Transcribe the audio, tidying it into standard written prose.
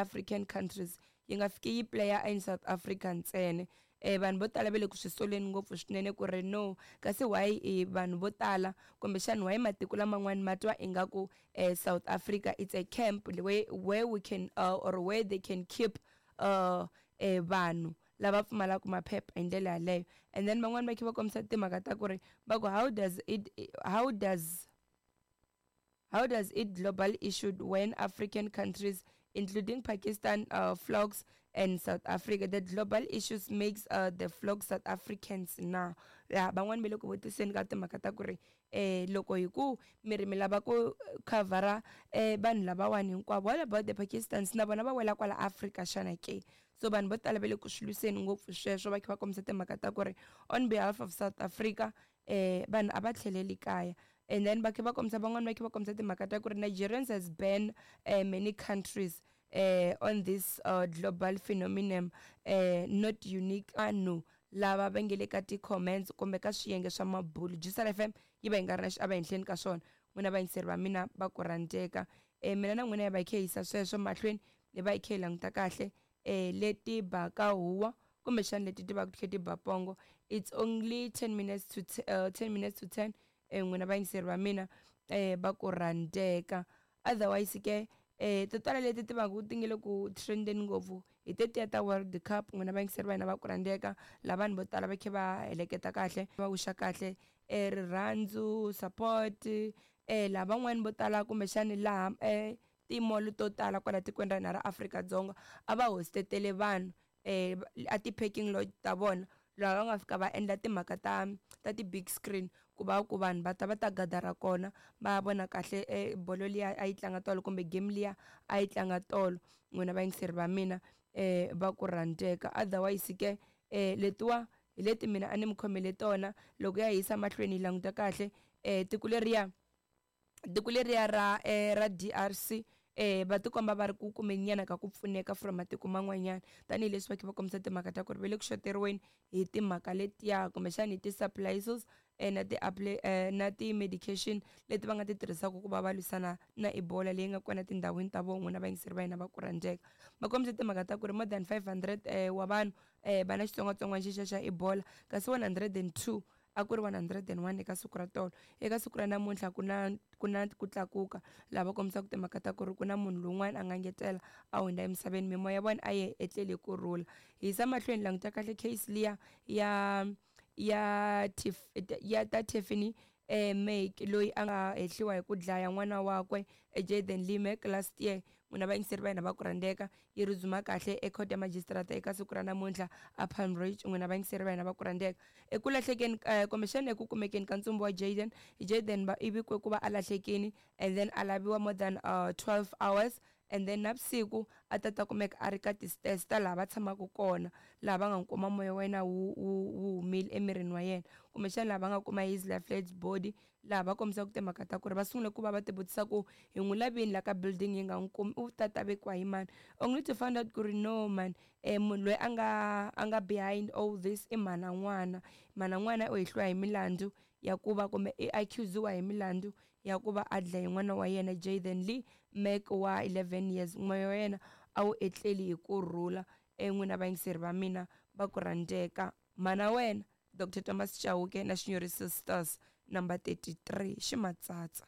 African countries, yi nga fiki yi player in South Africa ntsena. Vanhu vo tala va le ku swi soleni ngopfu swinene ku ri no, kasi why vanhu vo tala kumbexani why matiko laman'wani ma twa ingaku South Africa it's a camp where we can or where they can keep vanhu lava pfumalaka maphepha hi ndlela yaleyo. And then van'wani va kha va kombisa timhaka ta ku ri va ku how does it global issue when African countries, including Pakistan, flocks and South Africa? The global issues makes the flock South Africans now. Ya, van'wani va le ku vutiseni ka timhaka ta ku ri loko hi ku mi ri mi lava ku khavhara vanhu lavawani hinkwavo, what about the Pakistans? Na vona va wela kwala Africa xana ke? So vanhu vo tala va le ku swi lwiseni ngopfu sweswo, va kha va kombisa timhaka ta ku ri on behalf of South Africa vanhu a va tlheleli kaya. And then va kha va kombisa, van'wani va kha va kombisa timhaka ta ku ri Nigerians has banned many countries on this global phenomenon, not unique. Vanhu lava va nge le ka ti-comments kumbe ka swiyenge swa mabulu, Jusal FM yi va yi nga ri na xiava henhleni ka swona. N'wina vayingiseri va mina va ku rhandzeka, mina na n'wina hi va hi kha hi yisa sweswo mahlweni, hi va hi kha hi languta kahle leti baka huwa kumbexani leti ti va ti kha ti ba pongo. It's only 10 minutes to 10 minutes to 10. N'wina vayingiseri va mina va ku rhandzeka, otherwise ke to tala leti ti va ku ti nge le ku trendeni ngopfu hi tetiya ta World Cup. N'wina vayingiseri va hina va ku rhandzeka, la vanhu vo tala va kha va heleketa kahle, va wixa kahle rirhandzu, support, lavan'wani vo tala kumbexani laha ti-mall to tala kwala tikweni ra hina ra Afrika-Dzonga a va hostetele vanhu a ti-parking lot ta vona, laha va nga fika va endla timhaka ta ti-big screen ku va ku vanhu va ta va ta gadara kona, va vona kahle bolo liya a yi tlanga tolo kumbe game liya a yi tlanga tolo. N'wina vayingiseri va mina va ku rhandzeka, otherwise ke letiwa hi leti mina a ni mi khomele tona. Loko ya hisa mahlweni hi languta kahle tiko leriya ra DRC, va tikomba va ri ku kumeni nyana ka ku pfuneka from matiko man'wanyana, tanihileswi va kha va kombisa timhaka ta ku ri va le ku xoteriweni hi timhaka letiya kumbexani hi ti-supplies na ti-medication leti va nga ti tirhisaka ku va va lwisana na Ebola leyi nga kona tindhawini ta vona. N'wina vayingiseri va hina va ku rhandzeka, va kombisa timhaka ta ku ri more than 500 wa vanhu va na xitsongwatsongwana xexa xa Ebola, kasi 102, a ku ri 101 eka siku ra tolo. Eka siku ra namuntlha ku na ku tlakuka, laha va kombisaka timhaka ta ku ri ku na munhu lowun'wana a nga ngetela a hundza emisaveni. Mimoya ya vona a yi etleli hi kurhula. Hi yisa mahlweni, languta kahle case liya ya ta Tiffany Mack, loyi a nga hehliwa hi ku dlaya n'wana wakwe Jaden Lee Mack last year. N'wina vayingiseri va hina va ku rhandzeka, yi ri dzuma kahle ecourt ya magistrate eka siku ra namuntlha a Palm Ridge. N'wina vayingiseri va hina va ku rhandzeka, eku lahlekeni kumbexana eku kumekeni ka ntsumbu wa Jaden, Jaden va i vikwe ku va a lahlekini and then a laviwa more than 12 hours, and then navusiku a ta ta kumeka a ri ka ti-stairs ta laha va tshamaka kona, laha va nga kuma moya wa yena wu humile emirini wa yena, kumbexana laha va nga kuma his lifeless body, laha va kombisaka timhaka ta ku ri va sungule ku va va ti vutisa ku hi n'wi lavini la ka building yi nga n'wi kumi, u ta ta vekiwa hi mani, only to find out ku ri no man, munhu loyi a nga behind all this i mhana n'wana. Mhana n'wana u hehliwa hi milandzu ya ku va, kumbe i accusiwa hi milandzu ya ku va a dlaye n'wana wa yena Jaden Lee Mack wa 11 years. Moya wa yena a wu etleli hi kurhula. N'wina vayingiseri va mina va ku rhandzeka, mana wena Dr Thomas Chauke na Shinyori Sisters, number 33 Ximatsatsa.